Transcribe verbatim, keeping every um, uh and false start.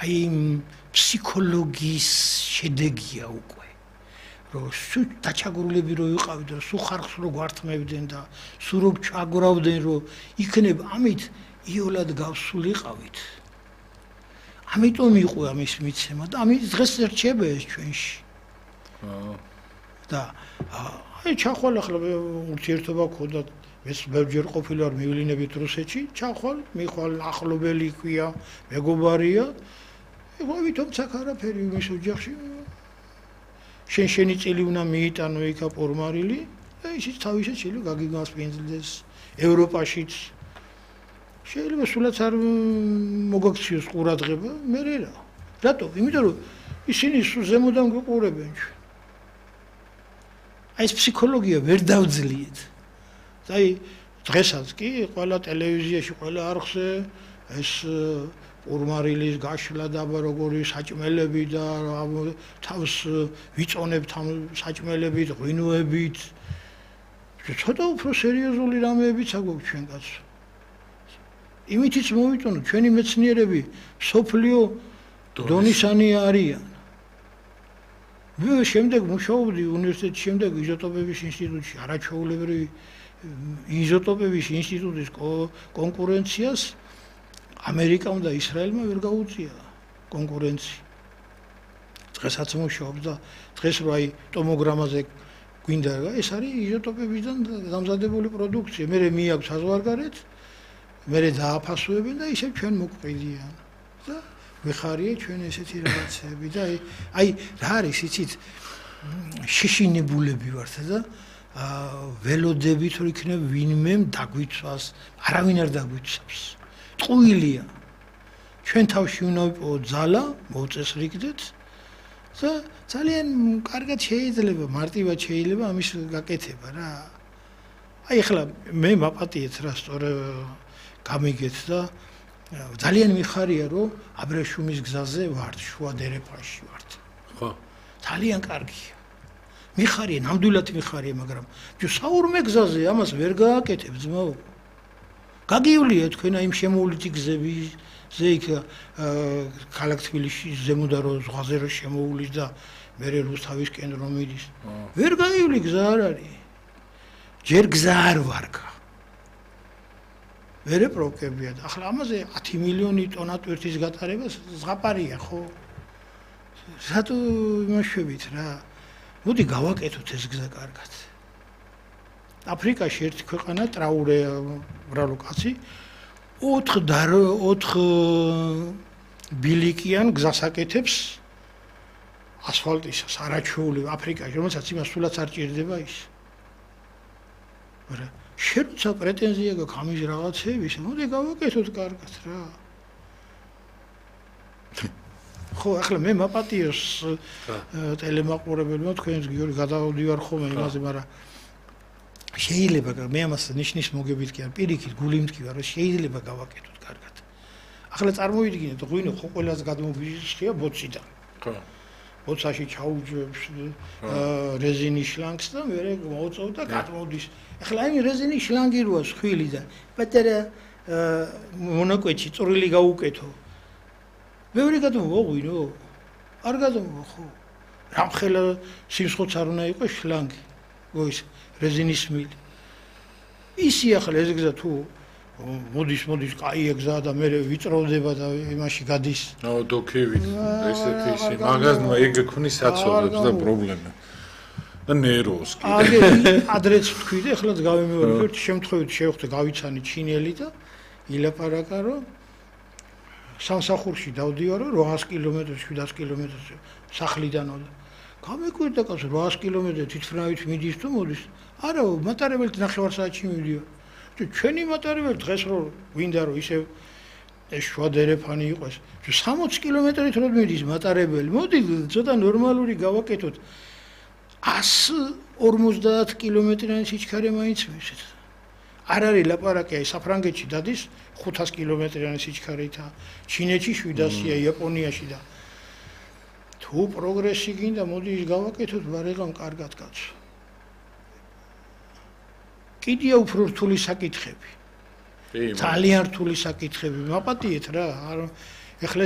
აი ფსიქოლოგიის შედეგია უკვე. რომ სულ დაჩაგრულები რო იყავით და სულ ხარხს რო გვართმევდნენ და სულ რო ჩაგრავდნენ რომ იქნებ ამით იოლად გავსულიყავით. ამიტომ იყო ამის მიცემა და ამით დღეს რჩება ეს ჩვენში. აა და აი ჩახვალ ახლა ურთიერთობა გქონდა ეს ბევრჯერ ყოფილი ვარ მივლინებით რუსეთში ჩახვალ მიხვალ ახლობელი ქვია მეგობარია ეხლა თუმცა არაფერი მის ოჯახში შენ შენი წილი უნდა მიიტანო იქა პორმარილი და ისიც თავისად შეიძლება გაგიგას პენზილდეს ევროპაშიც შეიძლება სულაც არ მოგაქციოს ყურადღება მე რა რატო იმიტომ რომ ისინი ზემოდან გვიყურებენ ჩვენ აი ეს ფსიქოლოგია ვერ დავძლიეთ აი დღესაც კი ყველა ტელევიზიაში ყველა არხზე ეს ურმარილის გაშლა და როგორი საჭმელები და თავს ვიწონებთ ამ საჭმელებით ღვინოებით ცოტა უფრო სერიოზული რამეებიც აგვაქვს ჩვენ კაცო იმითიც მოვიტანოთ ჩვენი მეცნიერები სოფლიო დონისანი არიან მე შემდეგ მუშაობდი უნივერსიტეტში შემდეგ იზოტოპების ინსტიტუტში არაჩვეულებრივი იზოტოპების ინსტიტუტის კონკურენციას ამერიკამ და ისრაელმა ვერ გაუწია კონკურენცია. დღესაც მუშაობს და დღეს რო აი ტომოგრამაზე გვინდა ეს არის იზოტოპებიდან დამზადებული პროდუქცია. მე მიაქვს საზღვარგარეთ, მე დააფასუებენ და ისევ ჩვენ მოგვყიდიან. და ვიხარია ჩვენ ესეთი რაღაცები და აი აი რა არის იცით შეშინებულები ვართ და ველოდებით რომ იქნებ ვინმე დაგვიცვას, არავინ არ დაგვიცავს. ტყუილია. ჩვენ თავში უნდა ვიპოვოთ ძალა, მოვწესრიგდეთ და ძალიან კარგად შეიძლება, მარტივად შეიძლება ამის გაკეთება რა. აი ახლა მე მაპატიეთ რა სწორ გამიგეთ და ძალიან მიხარია რომ აბრეშუმის გზაზე ვართ, შუა დერეფანში ვართ. ხო. ძალიან კარგია. მიხარია, ნამდვილად მიხარია, მაგრამ თუ საურმე გზაზე ამას ვერ გააკეთებ ძმაო. გაგიულია თქვენ აი შემოვლითი გზები ზე იქ ქალაქ თბილისში ზემოდა რო ზღვაზე რო შემოულის და მე რუსთავისკენ რომ მიდის. ვერ გაივლი გზა არ არის. ჯერ გზა არ ვარგა. მერე პროექტებია და ახლა ამაზე ათი მილიონი ტონა ტვირთის გატარება ზღაპარია ხო? რატო იმაშვებით რა? მოდი გავაკეთოთ ეს გზა კარგად. აფრიკაში ერთი ქვეყანა ტრაურე ბრალო კაცი ოთხ ოთხ ბილიკიან გზას აკეთებს ასფალტისას არაჩვეული აფრიკაში რომელსაც იმას სულაც არ ჭირდება ის. მაგრამ შენ როცა პრეტენზია გაქვს ამის რაღაცების, მოდი გავაკეთოთ კარგად რა. ხო, ახლა მე მაპატიოს ტელემაყურებელმა თქვენს გიორგი გადავდივარ ხოლმე იმაზე, მაგრამ შეიძლება მე ამას ნიშნის მოგებით კი არ პირიქით გული მткиვა რომ შეიძლება გავაკეთოთ კარგად. ახლა წარმოვიდგინეთ ღვინო ხო ყველაზე გადმოგვიშლია ბოციდან. ხო. ბოცაში ჩაუჯებს რეზინის შლანგს და მე მოუწევ და გადმოდის. ახლა აი რეზინის შლანგი როა სხვილი და პატარა მონაკვეთში წვრილი გაუკეთო. მეორე გადმოვღვინო? არ გადმოვა ხო? რამხელა სიმსხოც არ უნდა იყოს შლანგი. გოის რეზინის მილი. ისი ახლა ეს გზა თუ მოდის მოდის კაია გზა და მე ვიწროვდება და იმაში გადის. აუ დოქევით ესეთი ისი მაგაზმა ეგ ქმნის საცოდებს და პრობლემა. და ნეროს კიდე. აგე ადრეც თქვი და ახლაც გავიმეორე ერთ შემთხვევით შევხვდე გავიცანი ჩინელი და ილაპარაკა რომ სამსახურში დავდივარო რვაას კილომეტრს შვიდას კილომეტრს სახლიდანო და გამეკვირდა კაცო რვაას კილომეტრი თვითმფრინავით მიდის თუ მოდის არა მატარებელით ნახევარ საათში მივიდიო თუ ჩვენი მატარებელი დღეს რო გვინდა რომ ისე ეს შუა დერეფანი იყოს თუ სამოცი კილომეტრით რო მიდის მატარებელი მოდი ცოტა ნორმალური გავაკეთოთ ას ორმოცდაათ კილომეტრიანი სიჩქარე მაინც მისცეთ არ არის ლაპარაკი აი საფრანგეთში დადის ხუთას კილომეტრიანი სიჩქარეთა ჩინეთში შვიდასია იაპონიაში და თუ პროგრესი გინდა მოდი ის გავაკეთოთ ვარიღამ კარგად კაცო კიდია უფრო რთული საკითხები ძალიან რთული საკითხები მაპატიეთ რა ეხლა